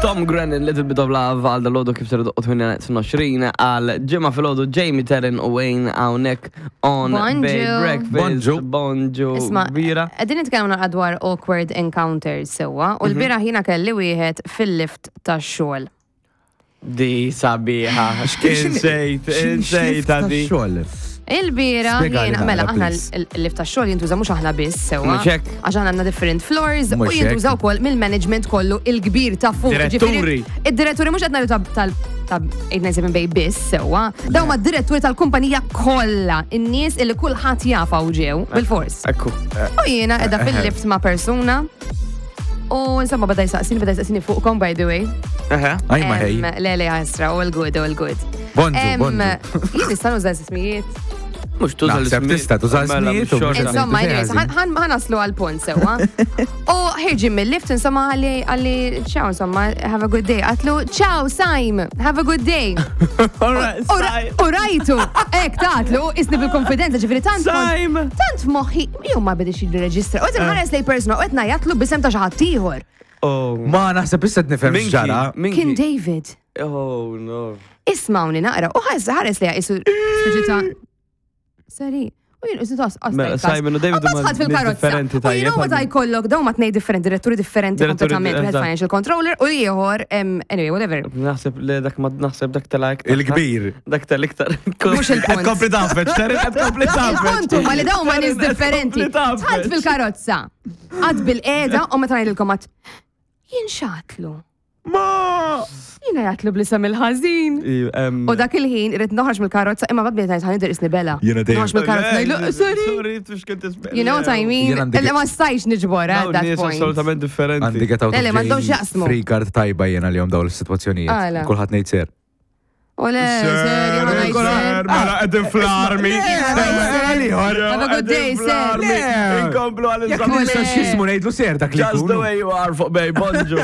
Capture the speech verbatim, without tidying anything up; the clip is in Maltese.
Tom Grennan, Little Bit of Love, għal dal-ħodu kif ser tmienja u għoxrin għal ġimgħa filgħodu, Jamie, Terren u Wayne hawnhekk on Bonġu. Bay Breakfast. Bonġu. Bonġu. Isma, Kbira. qegħdin nitkellmu naqra dwar awkward encounters sewwa, u l-bieraħ jiena kelli wieħed fil-lift tax-xogħol. Di sabiħa. X'kien sejt, insejt di. Xogħol. Il-bieraħ Spjegali jiena, naqra, mela aħna please. il-lift tax-xogħol jintuża mhux aħna biss sewwa. Mhux hekk. Għax aħna għandna different floors u Mhux hekk. jintuża wkoll mill-management kollu il-kbir ta' fuq. Diretturi. Ġifieri, id-diretturi mhux qed ngħidu ta' tal ta' eight nine seven Bay biss sewwa. Dawn ma diretturi tal-kumpanija kollha, in-nies illi kulħadd jafa u ġew bil-fors. Ekku. U jiena qiegħda fil-lift ma' persuna. U insomma bada jisaqsini, bada jisaqsini fuqkom, by the way. Eħe. Aj ma ħej. Em, Le, le, għasra, all good, all good. Bonġu, Em, bonġu. Jien nista' nuża ismijiet. Mhux tuża Naħseb l-ismijiet. tista' tuża Mela, l-ismijiet u mhux xorta. mhux Insomma, anyways, ħażin. ħan ħan naslu għal-punt sewwa. U ħirġin mill-lift, insomma, qalli, qalli, ciao, insomma, have a good day. Għedtlu, ciao, Saim, have a good day. All right, U ra- Saim. U rajtu, hekk għedtlu, isni bil-konfidenza, ġifieri tant. Saim. Tant moħħi, jew ma bidix jirreġistra. U qed ħares lej persona, u qed ngħajjatlu b'isem ta' xi ħadd ieħor. Oh. Ma naħseb issa nifhem Minki, x'ġara. minki. Kien David. Oh, no. Ismawni naqra, u ħares ħares li jisu speċi ta' Sorry. U jien isu tas Mela, Simon u David huma ħadd nies fil-karozza. differenti U jien tajjeb, meta għal- jkollok dawn ma tnej differenti, diretturi differenti Diretturi kompletament, wieħed eżatt. financial controller u ieħor, em, anyway, whatever. Naħseb li dak ma naħseb dak tal-iktar. Il-kbir. Dak tal-iktar. Mhux il-punt. Kompli tafeċ, Terren, qed kompli tafeċ. Il-punt huma li dawn ma nies differenti. Kompli tafeċ. Dħalt fil-karozza. Għad bil-qeda u meta ngħidilkom għad jien x'għedtlu. Ma! Jiena għedtlu bl-isem il-ħażin. U dak il-ħin irrid noħroġ mill-karozza imma babbi ngħid ħa nidher isni bela. Jiena dejjem- Noħroġ mill-karozza ngħidlu, sorry. Sorry, tux kont isbel. You know what I mean? Jien għandi- Illa ma stajx niġbor at that Nies point. assolutament differenti. Għandi get out Le, le, of m'għandhomx jail jaqsmu. free card tajba jena li jom dawn l-situazzjonijiet. Għala. Kulħadd ngħid ser. U le, sir, jien ngħid sir. Mela, qegħdin fl-armi. Have a good day, sir. Inkomplu għal Jekk Le. nista x'ismu ngħidlu ser dak li Just the jkun. way you are fuq Bay, bonġu.